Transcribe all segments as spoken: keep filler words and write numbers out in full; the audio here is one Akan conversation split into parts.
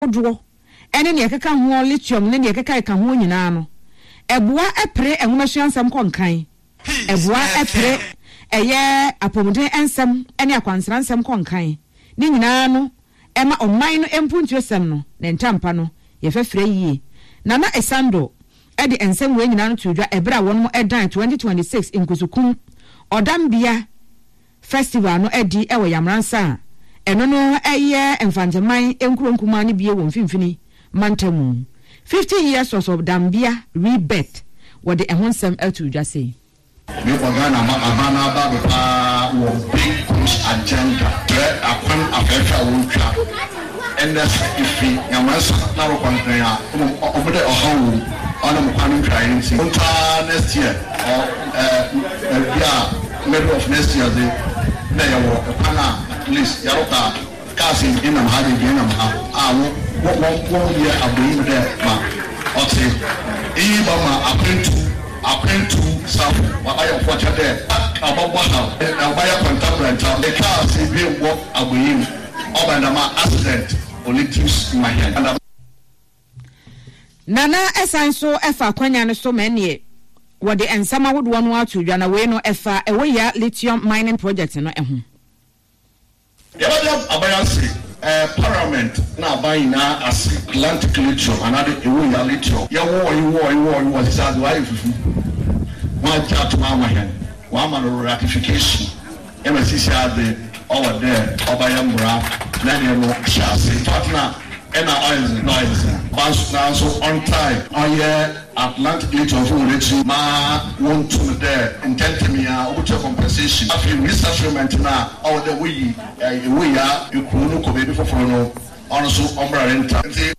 ahodoɔ ɛne nea ɛkeka ho, lithium ne nea ɛkeka ɛka ho nyinaa no, ɛboa ɛpere nwomasua nsɛm kɔ nkan, ɛboa ɛpere ɛyɛ apɔmuden nsɛm ne akwansra nsɛm kɔ nkan. Ne nyinaa no ɛma ɔman no mpuntuo sɛm no ne ntampa no yɛfɛfrɛ yie. Nana Esando ɛde nsɛm wei nyinaa no to dwa ɛberɛ a wɔn ɛdan twenty twenty-six Nkusukum Ɔdambea Festival no adi ɛwɔ Yamransa a ɛno no ɛyɛ Mfanteman nkuro nkumaa no bie wɔ Mfimfini Mantamu. fifty years of Ɔdambea rebirth, wɔde ɛho nsɛm ato dwa sei. Mekɔ Ghana ma aban no aba do paa wɔ big push agenda kyerɛ akwan afɛɛfɛ a wɔretwa. Ɛnɛ sɛ efi Nyamansa na rokɔ Nkran a, mmom ɔmo dɛ ɔhaw wɔ mu, ɔnam kwan no ntwaeɛ nti ɔntwaa next year ɔ ɛɛ bi a middle of next year de na yɛwɔ ɛkwan a at least yɛrokɔ a cars ebien nam ha, ebien nam ha a wɔ wɔ wɔn yɛ abɔyi mu dɛ ma ɔte eyi ba ma akwantu akwantu safo wayɛ ɔfɔkyɛ dɛ ɔbɛbɔ ha, ɔbɛyɛ kɔntabrɛnta cars ebien wɔ abɔyi mu, ɔbɛn dɛm a accident ɔreduce ma hɛn. Nana ɛsan so ɛfa akwanya no so ma ɛneɛ wɔde nsɛm ahodoɔ no ato dwa, na wei no ɛfa Ewoyaa lithium mining project no ɛho. Yɛbɛda aban ase, ɛɛ parliament na aban nyinaa ase. Atlantic Lithium anaade Ewoyaa Lithium, yɛwɔ yɛwɔ yɛwɔ yɛwɔ sisi ade wayɛ fufu, wɔn agye atom ama hɛn, wɔn ama no ratification ɛma sisi ade ɔwɔ dɛ ɔbɛyɛ mmara na ɛdeɛ no hyɛ ase. In fact, na ɛna ɔyɛ dze na ɔyɛ dze banso nanso ɔntae ɔyɛ Atlantic Lithium fo wɔn akyi ma wɔntum dɛ ntɛntɛm yi a wɔbɛtua compensation. Afei resettlement na ɔwɔ dɛ woyi Ewoyaa ekuro no kɔ baabi foforɔ no, ɔno nso ɔmmra renta nti.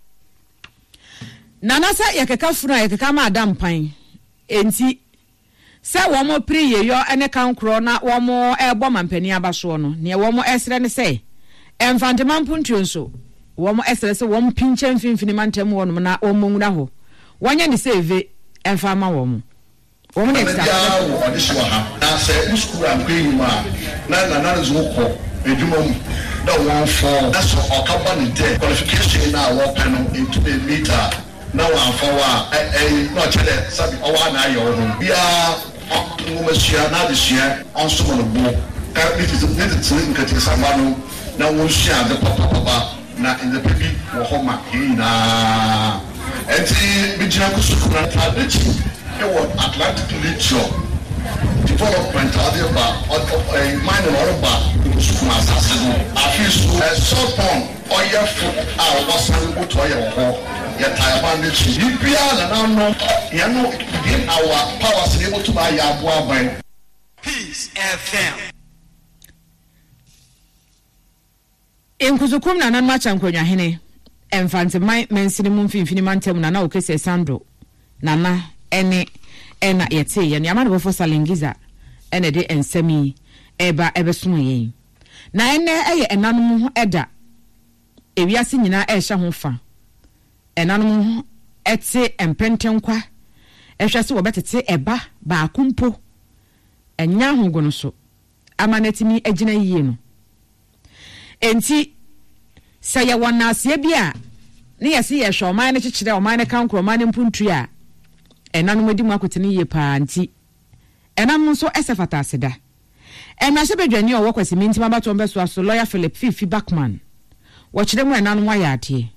Nana sɛ yɛkeka funu a yɛkeka ma ada mpan, enti sɛ wɔn pere yeyɔ ne kankorɔ na wɔn ɛrebɔ mampanin aba soɔ no, nea wɔn ɛsrɛ ne sɛ Mfantema mpuntuo nso wɔn ɛsrɛ sɛ wɔn pinkyɛn Mfimfini Mantam hɔnom na wɔn mmɔ nwura hɔ, wɔnyɛ ne sɛ eve ɛmfa ama wɔn wɔn ne ɛna biara wɔ ɔde so wɔ ha na sɛ wo sukuu ankɔ enyim a na nana no dze wo kɔ edwuma mu dɛ wɔn fɔ na sɛ ɔka ba ne dɛ qualification na a wɔpɛ no ntumi meet a na wɔamfa wo a, ɛyi na ɔkyerɛ dɛ sabi ɔwɔ a na ayɛ wo ho biara nwomasua na adesua ɔnsom no bo ka ne tete ne tete nketenkesamba no na wɔnsua ade papapapa na nneɛma bi wɔ hɔ ma yɛn nyinaa. Nti megyina Kusukuru na n'akyi ɛwɔ Atlantic Lithium development a ɔde ba ɛɛ mining ɔreba Kusukuru asase no. Afei so ɛsɔpɔn ɔyɛ fo a ɔsan moto ɔyɛ wɔ hɔ, yɛtaa aban n'akyi biribiara nananom yɛn no within our powers ne yɛbɛtum ayɛ aboa aban. Peace F M. Nkusukum nananom akyɛ nkonnwahene, Mfanteman mansini mu Mfimfini Mantam, Nana Okese Sando nana ɛne ɛna yɛte yɛn yɛama ne bɔfo Salengiza ɛna ɛde nsɛm yi ɛba ɛbɛsom yɛn. Na ɛnɛ ɛyɛ ɛnanom ho ɛda, ewiase nyinaa ɛrehyɛ ho fa. Ɛnanom ɛte mpɛntɛnkwa ɛhwɛ sɛ wɔbɛtete ɛba baako mpo ɛnya ahogo no so ama no atumi agyina yie no. Enti sɛ yɛwɔ nnaaseɛ bi a ne yɛse yɛhwɛ ɔman no kyekyerɛ, ɔman no kankorɔ, ɔman no mpuntu a, ɛnanom adi mu akotene yie paa. Nti ɛnanom nso ɛsɛ fata aseda. Mmarahyɛbadwani a ɔwɔ Kwasimintim abatoɔ mpɛsoa so, Lawyer Philip Fiifi Buckman, wɔkyerɛ mu ɛnanom ayɛ adeɛ.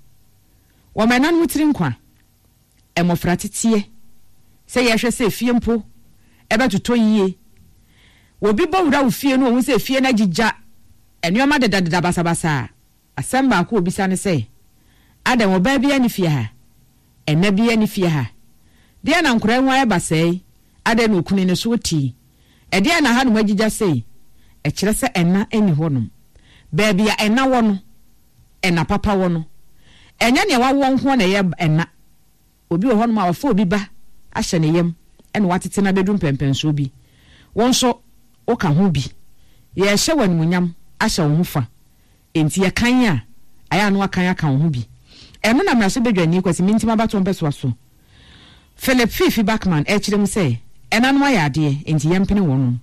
Wɔma ɛnanom tiri nkwa, mmɔfra teteɛ, sɛ yɛhwɛ sɛ efie mpo ɛbɛtotɔ yie. Obi bɔ wura wo fie no, ohun sɛ efie no agyigya, nneɛma dedadeda basabasa a, asɛm baako a obisa ne sɛ, "Adan ɔbaa bi ani fie ha? Ɛna bi ani fie ha deɛ na nkwaraa ho ayɛ basɛe? Adan na okunu ne so tii ɛdeɛ na hanom agyigya sei?" Ɛkyerɛ sɛ ɛna ani hɔnom. Baabi a ɛna wɔ no, ɛna papa wɔ no, ɛnyɛ nea wawoɔ nko na ɛyɛ ɛna. Obi wɔ hɔnom a wafa obi ba ahyɛ ne yam ɛna watete no abɛdu mpɛmpɛnsoɔ bi, wɔn nso woka ho bi, yɛhyɛ wɔ animuonyam ahyɛ wo ho fa. Enti yɛkan a ayɛ ano akan aka wo ho bi. Ɛno na mmarahyɛbadwani Kwasi Mintim abatoɔ mpɛsoa so Philip Fiifi Buckman ɛkyerɛ mu sɛ ɛnanom ayɛ adeɛ, enti yɛmpene wɔnom.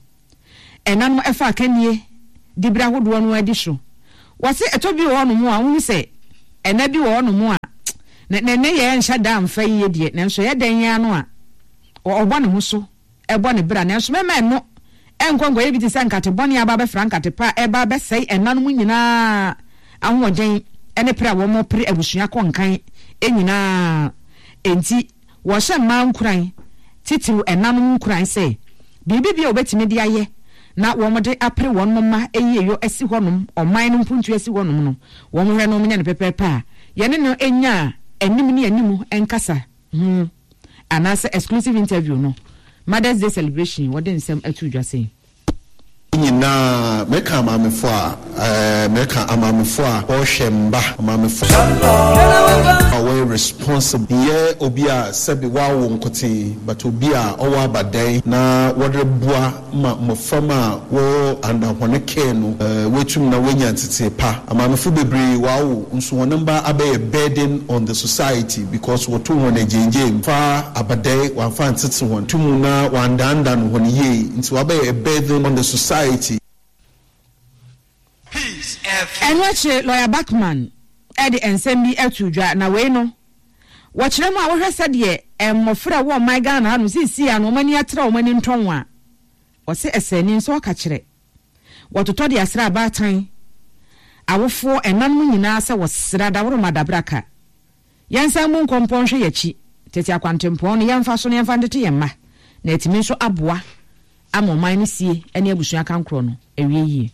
Ɛnanom ɛfa akannie dibere ahodoɔ no adi so. Wɔse ɛtɔ bi wɔ hɔnom a wohu sɛ ɛna bi wɔ hɔnom a Ne ne ne yɛ nhyɛ da mfa yie deɛ, nanso yɛ dɛn yɛn ano a ɔbɔ ne ho so, ɛbɔ ne bra, nanso mɛma ɛno ɛnkɔ nkɔyɛ bi te sɛ nkate bɔne aba bɛfra nkate pa a ɛba bɛsɛe ɛnanom nyinaa ahoɔden ɛne pere a wɔn pere abusua kɔ nkan nyinaa. Enti wɔhyɛ mmaa nkuran, titiriw ɛnanom nkuran, sɛ biribi bi a wɔbɛtumi de ayɛ na wɔn de apere wɔn mma eyie asi hɔnom, ɔman no mpuntu asi hɔnom no, wɔn hwɛ no, wɔn nyɛ no pɛpɛɛpɛ a yɛne no nya anim ne anim nkasa ho anaasɛ exclusive interview no. Mother's Day celebration, wɔde nsɛm ato dwa sɛn. Nyinaa mɛka amaamefo a ɛɛ mɛka amaamefo a wɔrehwɛ mba, amaamefo a wɔyɛ responsible, yɛ obi a sɛbi wawo nkoten, but obi a ɔwɔ abadan na wɔde boa ma mmɔframma a wɔwɔ under wɔn care no ɛɛ wɔatum na wɔanya ntete pa. Amaamefo bebree wawo nso wɔn mba abɛyɛ burden on the society because wɔto wɔn agyengyen fa abadan, wɔamfa ntete wɔn tum na wɔandandan wɔn yie, nti wɔabɛyɛ a burden on the society. Peace F M. Ɛno akyire, Lawyer Backman ɛde nsɛm bi ato dwa, na wei no wɔkyerɛ mu a wɔhwɛ sɛdeɛ mmɔfra a wɔ ɔman Ghana ha no seesei a no wɔn ani atra, wɔn ani ntɔn a wɔsɛ ɛsɛ nso ɔka kyerɛ wɔtotɔ de asra abaatan awofoɔ ɛnanom nyinaa sɛ wɔsra daworo dabraka. Yɛnsan mu nkɔmpɔn hwɛ yɛkyi tete akwantempɔn no, yɛmfa so no, yɛmfa ntete yɛn mma na ɛtumi nso aboa ama ɔman no sie ne abusua kankorɔ no awie yie.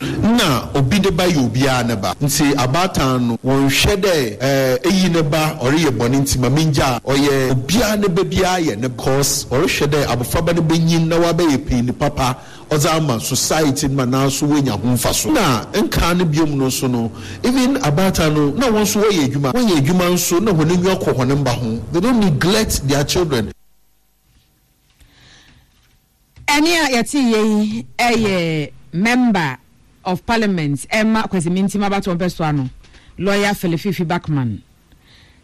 Na obi ne ba yɛ obiara ne ba, nti abaatan no wɔnhwɛ dɛ ɛɛ eyi ne ba ɔreyɛ bɔne nti ma mengya, ɔyɛ obiara ne ba, biara yɛ ne, cause ɔrehwɛ dɛ abɔfraba no bɛnyin na wabɛyɛ panyin papa ɔdze ama society no ma nanso woanya ho mfa so. Na nkaa no biom no nso no, even abaatan no na wɔn nso wɔyɛ adwuma, wɔyɛ adwuma nso na wɔn anyiwa kɔ wɔn mba ho. They don't neglect their children. Ɛne a yɛte yɛ yi ɛyɛ Member of Parliament ɛma Kwasimintim abatoɔ mpɛsoa no, Lawyer Philip Fiifi Backman,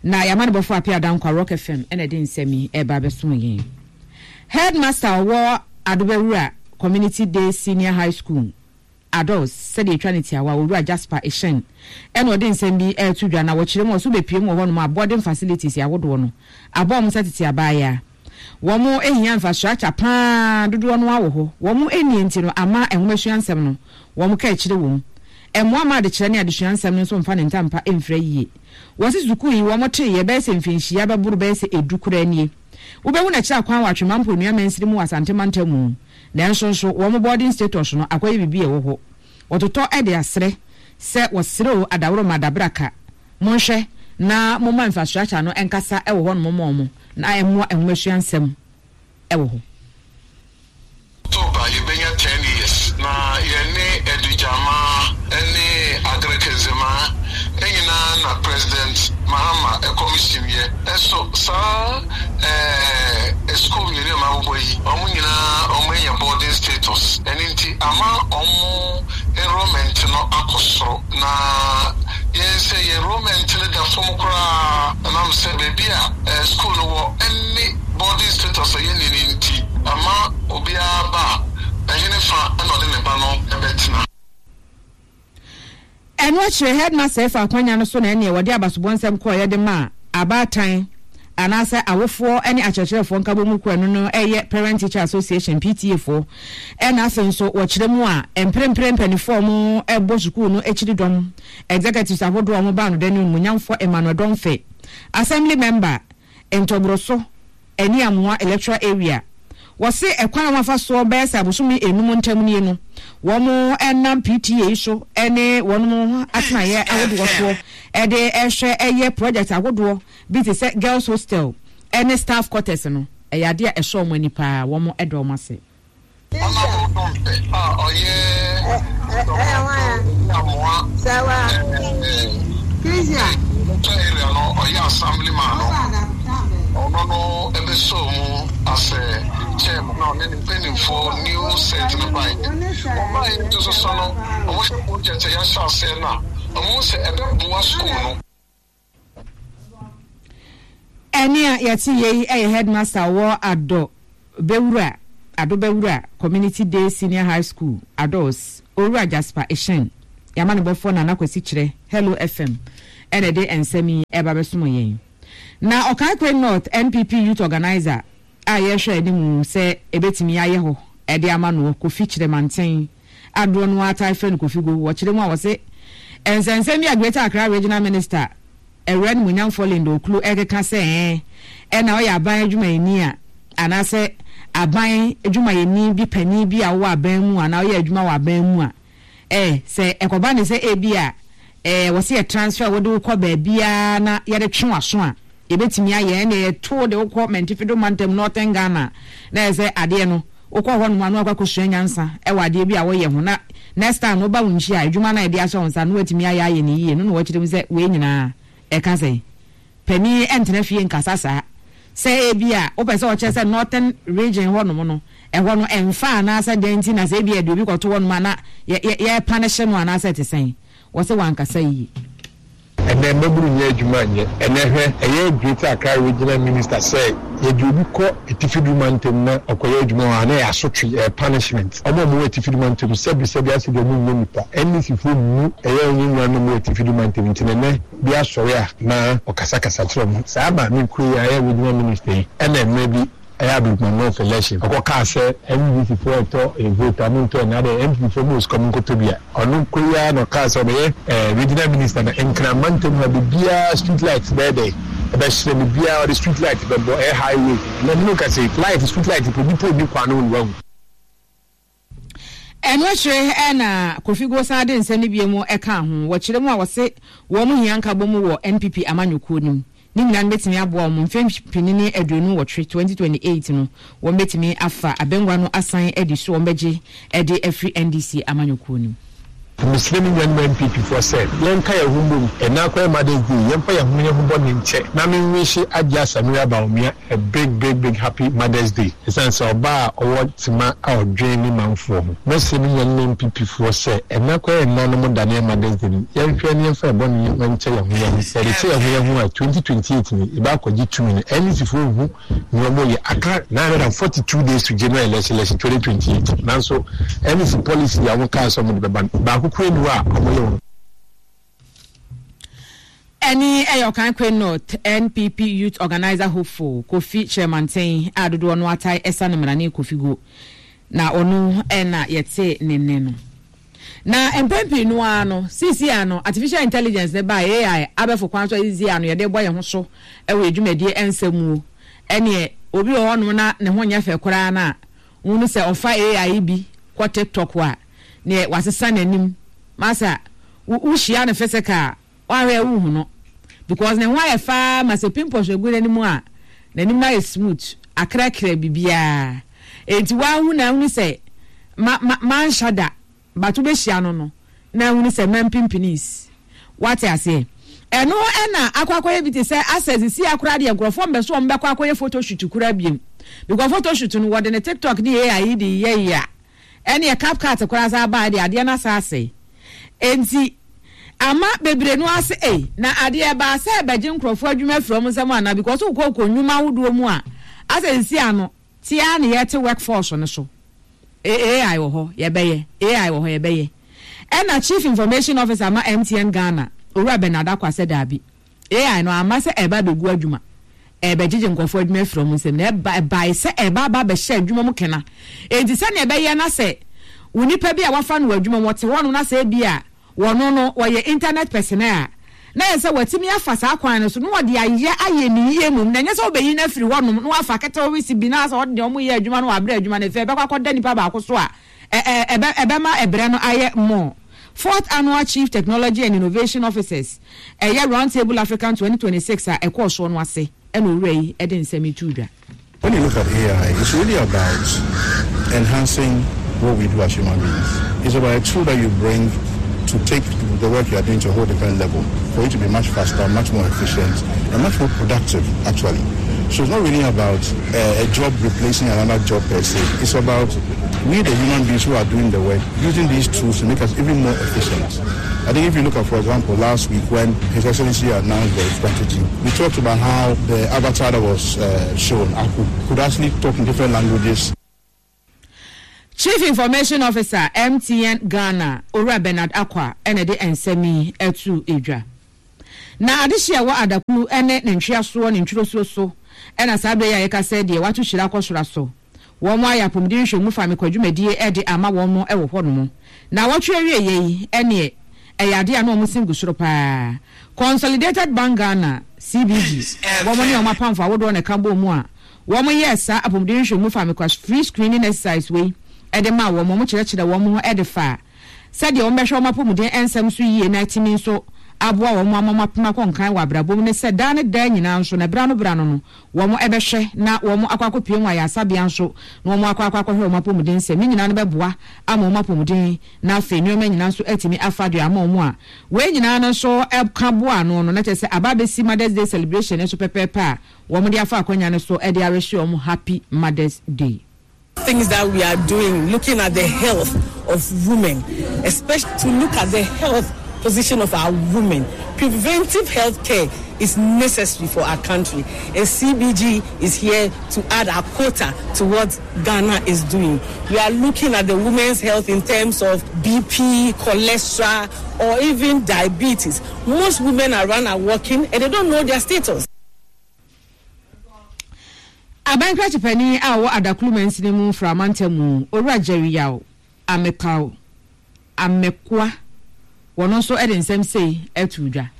na yɛama no bɔfo Apia Dankwa, Rock F M, ɛna ɛde nsɛm yi ɛba abɛso yɛn. Headmaster ɔwɔ Adobɛwura Community Day Senior High School, Adults, sɛdeɛ etwa ne tiawa, Owura Jasper Ehyɛn, ɛna ɔde nsɛm bi ɛreto dwa, na wɔkyerɛ mu ɔso bepie mu wɔ hɔnom a boarding facilities ahodoɔ no abɔ wɔn sɛ tete abaayewa. Wɔn ehia infrastructure paa dodoɔ no awɔ hɔ, wɔn enie nti no ama nwomasua nsɛm no wɔn ka akyire wɔm mmoa ma adekyerɛ ne adesua nsɛm no nso mfa ne ntampa mfira yie. Wɔsi sukuu yi wɔn te yɛ bɛyɛ sɛ mfinhyia bɛboro bɛyɛ sɛ edu koraa nie. Wobɛhu n'akyiri akwan wɔ Atwema Mponua mansini mu wɔ Asante mantam mu, nanso nso wɔn boarding status no akɔyɛ biribi a ɛwɔ hɔ wɔtotɔ de asrɛ sɛ wɔsrɛ o adaworo ma adabraka, monhwɛ na momma infrastructure no nkasa wɔ hɔ nom ma ɔmo na ɛmmoa nwomasua nsɛm ɛwɔ hɔ. October yɛbɛnya ten years na yɛne Adugyama ne Agrekenzema nyinaa na President Mahama commission yɛ ɛso saa ɛɛ school mmienu a mabobɔ yi, wɔn nyinaa wɔn anya boarding status. Ɛno nti ama wɔn enrollment no akɔ soro, na yɛn sɛ yɛn enrollment no da fam koraa, ɛnam sɛ baabi a ɛɛ school no wɔ ɛne boarding status a yɛnni ne nti ama obiara ba a ɛhene fa ɛna ɔde ne ba no ɛbɛtena. Ɛno akyerɛ headmaster ɛfa akwanya no so na ɛneɛ wɔde abasobɔ nsɛm kɔɔ yɛde ma abaatan anaasɛ awofoɔ ne akyerɛkyerɛfoɔ nkabɔ mu kɔ. Ɛno no ɛyɛ Parent Teacher Association, P T A foɔ. Ɛna afei nso wɔkyerɛ mu a mprempren mpanimfoɔ a wɔn ɛbɔ sukuu no akyiri dɔm, executives ahodoɔ a wɔn ba no dɛ no munyamfoɔ Emmanuel Dɔnfɛ, assembly member Ntɔboroso ɛne Amoa Electoral Area. Wɔse ɛkwan a wɔafa soɔ bɛyɛ sɛ abosomi enum ntam nie no, wɔn ɛnam P T A so ɛne wɔn atenaeɛ ahodoɔ soɔ ɛde ɛhwɛ ɛyɛ project ahodoɔ bi te sɛ girls hostel ɛne staff quarters no, ɛyɛ adeɛ a ɛsɔ wɔn ani paa, wɔn ɛdɔ wɔn ase. Honourable Dɔmpɛ a ɔyɛ Amoa electoral area no, ɔyɛ assemblyman no, ɔno no ɛbɛsɔ mu asɛ chairman na ɔne ne mpanimfoɔ new set no baeɛ. Ɔbaeɛ nso so no, ɔmohwɛ project a yɛahyɛ aseɛ no a, ɔmo sɛ ɛbɛboa school no. Ɛne a yɛte yɛ yi ɛyɛ headmaster wɔ Adɔ Bɛwura, Ado Bɛwura Community Day Senior High School, Adors, Owura Jasper Ehyɛn. Yɛama ne bɔfoɔ Nana Kwasi Kyerɛ, Hello F M. Ɛna ɛde nsɛm yi ɛba bɛsom yɛn. Na Okaikwei North N P P Youth Organizer a yɛhwɛ anim sɛ ebetumi ayɛ hɔ ɛde ama no, Kofi Kyerɛmanten adoɔ no ata frɛ no Kofi Go, wɔkyerɛ mu a wɔse nsɛnsɛm bi a Greater Accra Regional Minister ɛwura no munyamfoɔ Linda Ocloo ɛkeka sɛ ɛn ɛna ɔyɛ aban adwumayɛni a anaasɛ aban adwumayɛni bi panin bi a wɔwɔ aban mu anaa ɔyɛ adwuma wɔ aban mu a ɛɛ sɛ ɛkɔba ne sɛ ebi a ɛɛ wɔsi yɛ transfer wɔde wokɔ baabiara na yɛde twe w'aso a yɛbɛtumi ayɛ, ɛna yɛto de wokɔ Mantifido mantam, Northern Ghana, na yɛ sɛ adeɛ no wokɔ hɔ nom ano akɔ akɔsua nyansa ɛwɔ adeɛ bi a wɔyɛ ho, na next time woba wo nkyi a adwuma no a yɛde ahyɛ wo nsa no watumi ayɛ ayɛ ne yie no. Na wɔkyerɛ mu sɛ wei nyinaa ɛka sɛ panin ɛntena fie nkasa saa sɛ ebi a wopɛ sɛ ɔkyerɛ sɛ Northern Region hɔ nom no ɛhɔ no ɛmfa anaasɛ dɛn nti na sɛ ebi ɛde obi kɔto hɔ nom a na yɛ yɛ yɛpa no anaasɛ te sɛn, wɔsɛ wankasa yie. Ɛnɛ mmabunu nyɛ adwuma nyɛ. Ɛnɛ hwɛ, ɛyɛ Greater Accra Regional Minister sɛ yɛde obi kɔ Atifidu mantam na ɔkɔyɛ adwuma hɔ a, na ɛyɛ asotwe, ɛyɛ punishment. Ɔmo a ɔmo wɔ Atifidu mantam, sɛbi sɛbi, asɛ deɛ ɔmo nyɛ nipa. N D C foɔ mu ɛyɛ ɔnyɛ nua no ɔmo wɔ Atifidu mantam nti nɛnɛ bi asɔre a na ɔkasakasa kyerɛ ɔmo saa. Maame kuro yi a ɛyɛ regional minister yi, ɛna mmerɛ bi ɛyɛ Ablekuma North election, ɔkɔ kaa sɛ N D C foɔ ɛtɔ vote a mo ntɔ, ɛna de N P P foɔ mo osika mo nkɔtɔ bi a ɔno kuro yi ara na ɔkaa sɛ ɔbɛyɛ ɛɛ regional minister na Nkran mantam ha bibiara street light bɛyɛ dɛ ɛbɛhyerɛ bibiara, ɔde street light bɛbɔ ɛyɛ highway na ɛno ka sɛ light, street light po nipa obi kwan no wɔ wahu. Ɛno akyire ɛna Kofi Go san de nsɛm no bi mu ɛka ho. Wɔkyerɛ mu a wɔse wɔn mu hia nkabɔ mu wɔ N P P amanyɔkuo no mu ne nyinaa no bɛtumi aboa wɔn mfe mpini ne aduonu wɔtwe, twenty twenty-eight no wɔn bɛtumi afa abɛngua no asan adi so, wɔn bɛgye ɛde afiri N D C amanyɔkuo no mu. Mesrɛ me nuanom N P P foɔ sɛ yɛnka yɛn ho mbom. Ɛna akɔyɛ Mothers Day, yɛmfa yɛn ho yɛn ho bɔ ne nkyɛ na menwihye Agye Asamira Bawumia a big, big, big happy Mothers Day, ɛsiane sɛ ɔbaa a ɔwɔ tema a ɔdwen ne manfoɔ ho. Mɛsrɛ me nuanom N P P foɔ sɛ ɛna akɔyɛ nnanom da ne Mothers Day no, yɛnhwɛ ne yɛmfa yɛbɔ ne nkyɛ yɛn ho yɛn ho. Yɛde kyɛ yɛn ho yɛn ho a, twenty twenty-eight ni yɛbɛ akɔgye tumi no. N D C foɔ hu nea ɔmo yɛ aka nine hundred and forty-two days to general election election twenty twenty-eight, nanso N D C policy a wɔn kaa sɛ ɔmo de bɛba no, baako kura ni hɔ a ɔmo yɛ wɔn. Ɛne ɛyɛ Okaikwei North N P P Youth Organizer hopeful Kofi Kyerɛmanten a dodoɔ no atae ɛsa no mmarane Kofi Go, na ɔno ɛna yɛte ne nne no. Na mpɛn pii no ara no, sisi ano artificial intelligence ne ba A I abɛfo kwan so a sisi ano yɛde bɔ yɛn ho so ɛwɔ edwumadie nsɛm mu, ɛneɛ obi wɔ hɔnom na ne ho nyɛ fɛ koraa na wɔn sɛ ɔfa A I bi kɔ TikTok a neɛ wasesa n'anim masa wohyia no physical a wahwɛ wohu no because ne ho ayɛ faa ma sɛ pimples egu n'anim a n'anim ayɛ smooth akrakra bibiara, eti wahu na ahunu sɛ ma ma manhyɛ da bato bɛhyia no no na ahunu sɛ mampimpiniis wate aseɛ. Ɛno ɛna akɔ akɔyɛ bi te sɛ asɛ sisi akora deɛ nkurɔfoɔ mbɛ so wɔn bɛkɔ akɔyɛ photoshoot kura biem because photoshoot no wɔde ne TikTok ne A I de yɛ yɛ a ɛne CapCut koraa sa aba de adeɛ no asa asɛe, enti ama bebree no ase ei na adeɛ baa sɛ ɛbɛgye nkurɔfoɔ adwuma afiri wɔn nsam ana, because wokɔ kɔ nnwuma ahodoɔ mu a asɛ sisi ano tia ne yɛte workforce no so A I wɔ hɔ yɛbɛyɛ A I wɔ hɔ yɛbɛyɛ. Ɛna Chief Information Officer ma M T N Ghana, Owura Bernard Acquah, sɛ daabi, A I no ama sɛ ɛba abɛgu adwuma, ɛbɛgyegye nkurɔfoɔ adwuma afiri wɔn nsam, na ɛba ɛbae sɛ ɛba aba abɛhyɛ adwuma mu kena, enti sɛnea ɛbɛyɛ na sɛ wo nipa bi a wafa no wɔ adwuma mu wɔte hɔ no na sɛ ebi a wɔno no wɔyɛ internet personnel a na yɛ sɛ wɔatumi afa saa kwan no so na wɔde ayɛ ayɛ ne yie mom, na ɛnyɛ sɛ wobɛyi no afiri hɔnom na wafa ketewa wisi bi na sɛ ɔde deɛ ɔmo yɛ adwuma no wɔabrɛ adwuma no fɛ ɛbɛkɔ akɔda nipa baako so a ɛ ɛ ɛbɛ ɛbɛma ɛbrɛ no ayɛ more. Fourth Annual Chief Technology and Innovation Officers ɛyɛ Round Table African twenty twenty-six a ɛkɔɔ soɔ no ase ɛna owura yi ɛde nsɛm yi to dwa. When you look at A I, it's really about enhancing what we do as human beings. It's about a tool that you bring to take the work you are doing to a whole different level, for it to be much faster, much more efficient, and much more productive, actually. So it's not really about uh, a job replacing another job per se. It's about we, the human beings who are doing the work, using these tools to make us even more efficient. I think if you look at, for example, last week when His Excellency announced the strategy, we talked about how the avatar that was uh, shown, Aku, could actually talk in different languages. Chief Information Officer M T N Ghana, Owura Bernard Acquah, ɛna de nsɛm yi ɛto edwa. Na adehye a ɛwɔ Adaklu ne ne ntweasoɔ ne ntwirosuo so na saa berɛ yi a yɛka sɛ deɛ wɔato hyira akɔ soro aso. Wɔn ayɛ apɔmuden nhwɛmu fa mekɔ dwumadie de ama wɔn wɔ hɔ nom. Naawɔtwe awieɛ yi ɛneɛ ɛyɛ adeɛ a na wɔn sin gu soro paa. Consolidated Bank Ghana, C B G, wɔn ne wɔn apamfo ahodoɔ na ɛka bɔɔ mu a wɔn yɛɛ saa apɔmuden nhwɛmu fa mekɔ free screening exercise wei de maa wɔn. Wɔn kyerɛkyerɛ wɔn ho de fa sɛdeɛ wɔn bɛhwɛ wɔn apɔmuden nsɛm so yie na atumi nso aboa wɔn ama wɔn apem akɔ nkan wɔ abrabɔ mu, ne sɛ daa ne daa nyinaa nso na berɛ ano berɛ ano no wɔn bɛhwɛ na wɔn akɔ akɔpue mu ayaresabea nso na wɔn akɔ akɔ akɔhwɛ wɔn apɔmuden nsɛm. Ne nyinaa no bɛboa ama wɔn apɔmuden na afei nneɛma nyinaa nso atumi afa deɛ ama wɔn a wei nyinaa no nso ka boa ano no, na kyerɛ sɛ aba abɛsi Mother's Day celebration nso pɛpɛɛpɛ a wɔn de afa akonnwa no so de arehyɛ wɔn Happy Mother's Day. Things that we are doing, looking at the health of women, especially to look at the health position of our women. Preventive health care is necessary for our country, and C B G is here to add our quota to what Ghana is doing. We are looking at the women's health in terms of B P, cholesterol, or even diabetes. Most women around are working and they don't know their status. Abankrakye panin a ɔwɔ Adaklu mansini mu Framantam mu, Owura Jerry Yaw Amekaw Amekoa, wɔn nso de nsɛm sei ato dwa.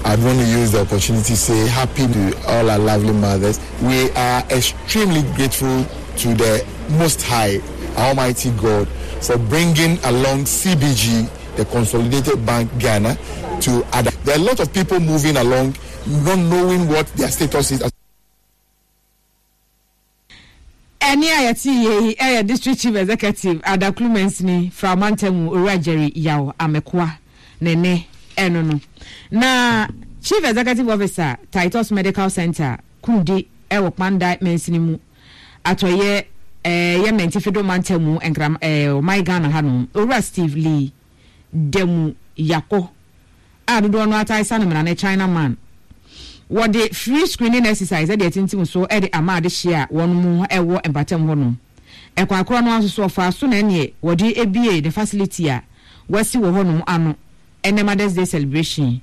I'd want to use the opportunity to say happy to all our lovely mothers. We are extremely grateful to the Most High, Almighty God, for bringing along C B G, the Consolidated Bank Ghana, to other. There are a lot of people moving along, not knowing what their status is. Ɛne a yɛte yie yi ɛyɛ District Chief Executive, Adaklu mansini Framantam, Owura Jerry Yaw Amekoa ne ne ɛno no. Na Chief Executive Officer, Titus Medical Center, Kumdi, ɛwɔ Kpandai mansini mu, atɔyɛ ɛɛ yɛ Mɛntifido mantam mu, Nkram ɛɛ ɔman Ghana hanom, Owura Steve Lee Dɛmu Yakɔ a dodoɔ no atae sa no mmara ne China Man, wɔde free screening exercise ɛde atintim so ɛde ama adehyeɛ a wɔn mu ɛwɔ mpatam hɔ nom. Ɛkwan korɔ no nso so ɔfa so na ɛneɛ wɔde ebie ne facility a wɔasi wɔ hɔnom ano ɛnɛ Mother's Day celebration.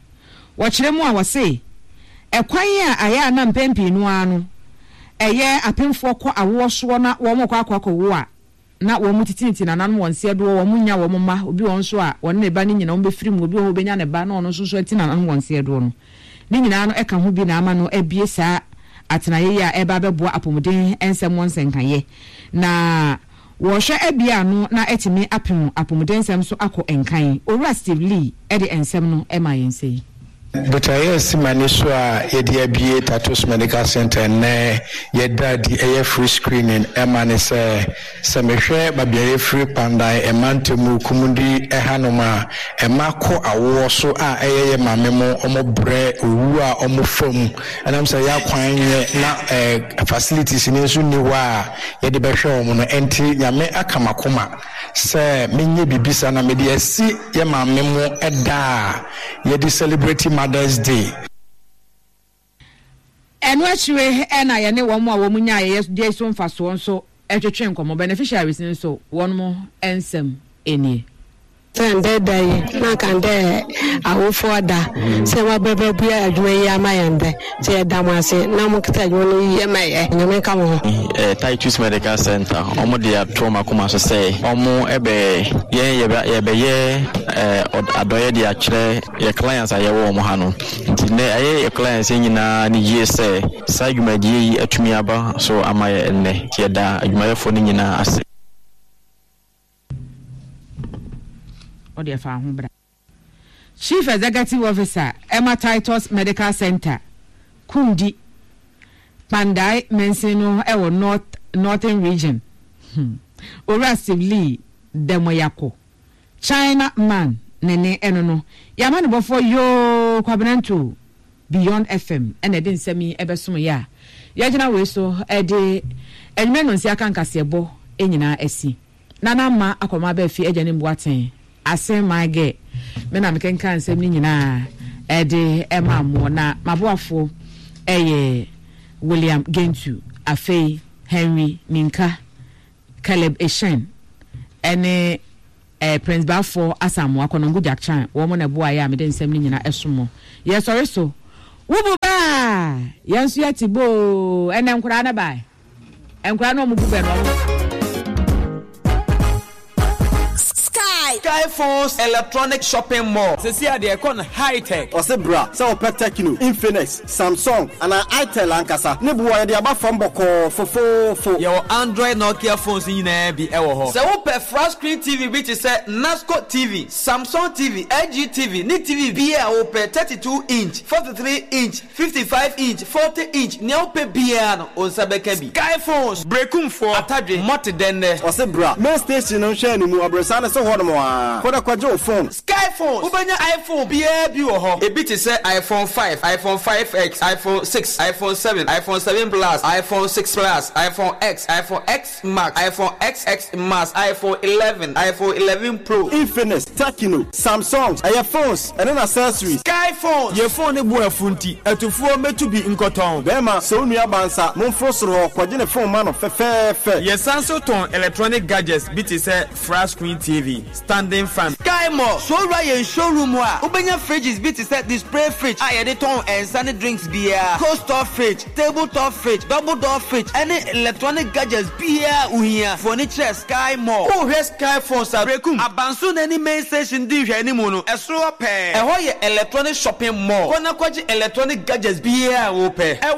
Wɔkyerɛ mu a, wɔse ɛkwan a ayɛ a na mpɛn pii no ara no ɛyɛ apemfoɔ kɔ awoɔ soɔ na wɔn kɔ akɔ akɔwo a na wɔn titiniti nananom wɔn nseɛ doɔ, wɔn nya wɔn mma. Obi wɔn nso a wɔne ne ba no nyinaa wɔn bɛfiri mu, obi wɔ hɔ obɛnya ne ba na ɔno nso so ati nananom wɔn nseɛ doɔ no, ne nyinaa no ɛka ho bi na ama no abie saa atenaeɛ yi a ɛba abɛboa apɔmuden nsɛm wɔn nsɛnkayɛ na wɔhwɛ abie ano na ɛtumi apem apɔmuden nsɛm so akɔ nkan. Owura Steve Lee ɛde nsɛm no ɛma yɛn sɛ yi. Botaeɛ a si m'ani so a yɛde abie Tatos Medical Center nnɛ, yɛda di ɛyɛ free screening ɛma ne sɛ sɛ mehwɛ baabi a yɛfiri, Kpandai ɛmantam Kumudi ɛhanom a ɛma kɔ awoɔ so a ɛyɛ yɛ maame mo ɔmo brɛ owu a ɔmo fam ɛnam sɛ yɛ akwan nyɛ na ɛɛ facilities ne nso nni hɔ a yɛde bɛhwɛ wɔn no. Ɛnti Nyame aka makoma sɛ menyɛ biribi saa na mede asi yɛ maame mo ɛda a yɛde celebrate Mother's Day. Ɛno akyire ɛna yɛne wɔn a wɔn nya yɛyɛ deɛ so mfasoɔ nso ɛtwetwe nkɔmɔ. Beneficiaries nso wɔn mo nsɛm nie. Sɛ ndɛ da yi na nka ndɛ awofoɔ da sɛ wɔabɛbɛbua adwuma yi ama yɛn dɛ sɛ yɛda mo ase na mo keta adwuma no yie ma yɛ. Nyame nka mo ho. eh, Titus Medical Center, ɔmo de ato ɔmo akoma so sɛ ɔmo ɛbɛ yɛn yɛbɛ yɛbɛyɛ ɛɛ adɔyɛ de akyerɛ yɛ clients a yɛwɔ ɔmo ha no. Nti nnɛ ɛyɛ yɛ clients nyinaa ne yie sɛ saa dwumadie yi atumi aba so ama yɛ nnɛ, nti yɛda adwumayɛfoɔ no nyinaa ase. Ɔde ɛfa ho bra. Chief Executive Officer ɛma Titus Medical Center, Kumdi, Kpandai mansin no ɛwɔ North Northern Region, hmm. Owura Steve Lee Dɛmɔyako, China Man ne ne ɛno no yɛama ne bɔfoɔ yoo Kwabenanto Beyond F M ɛna ɛde nsɛm yi ɛbɛsom yɛ a yɛgyina wei so ɛde ɛnwuma no nsi aka nkaseɛbɔ nyinaa asi nana ama akɔma abɛɛfi agya ne mboaten asen maagɛ me na mekenka nsɛm no nyinaa ɛde ɛma mmoɔ na maboafoɔ ɛyɛ William Gentu, afei Henry Minka, Caleb Eshen ɛne eh, Prince Bafo Asamoah Kɔnɔngo Jack Chan wɔn na ɛboa yɛ a mede nsɛm no nyinaa ɛso mo. Yɛsɔre so wubu baa yɛn nso yɛte boo. Ɛnɛ nkoraa no baa nkoraa no ɔmo bu bɛ no ɔmo. Sky Sky Phones Electronic Shopping Mall. Sisi adeɛ ɛkɔ no high tech. Ɔsɛ bra sɛ wɔpɛ Tecno, Infinix, Samsung anaa Itel ankasa ne boɔ yɛde aba fam bɔkɔɔ fofoofo. Yɛwɔ Android Nokia phones nyinaa bi ɛwɔ hɔ. Sɛ wopɛ flat screen T V bi te sɛ Nasco T V, Samsung T V, L G T V ne T V bi a wopɛ, thirty-two inch, forty-three inch, fifty-five inch, forty inch, nea wopɛ biara no, wo nsa bɛka bi. Sky Phones, Brekumfoɔ, Atadwe, Mɔte Dɛndɛ. Ɔsɛ bra main station no nhwɛ animu abrɛsa ne so hɔ nom a kɔdɛ kɔgye wo phone. Sky Phones, wobɛnya iPhone biara bi wɔ hɔ. Ebi te sɛ iPhone five, iPhone five X, iPhone six, iPhone seven, iPhone seven Plus, iPhone six Plus, iPhone X, iPhone X Max, iPhone X S Max, iPhone eleven, iPhone eleven Pro. Infinix, Tecno, Samsung, ɛyɛ phones ɛne accessories. Sky Phones. Yɛ phone ne bo afu nti atufoɔ mɛtu bi nkɔtɔn. Bɛrima sɛ wo nua bansa momforo soro hɔ kɔgye ne phone ma no fɛfɛɛfɛ. Yɛsan so tɔn electronic gadgets bi te sɛ flat screen T V, standing fan. Sky Mall, so wura yɛn showroom a wobɛnya fridges bi te sɛ display fridge a yɛde tɔn nsa ne drinks biara, cold store fridge, table top fridge, double door fridge ɛne electronic gadgets biara wohia. Foni kyerɛ Sky Mall. Wohwɛ Sky Phones a, Brekum Abanso n'ani main station di nhwɛ anim no, ɛsoro hɔ pɛɛ. Ɛhɔ yɛ electronic shopping mall. Kɔ na kɔgye electronic gadgets biara a wopɛ. Ɛwɔ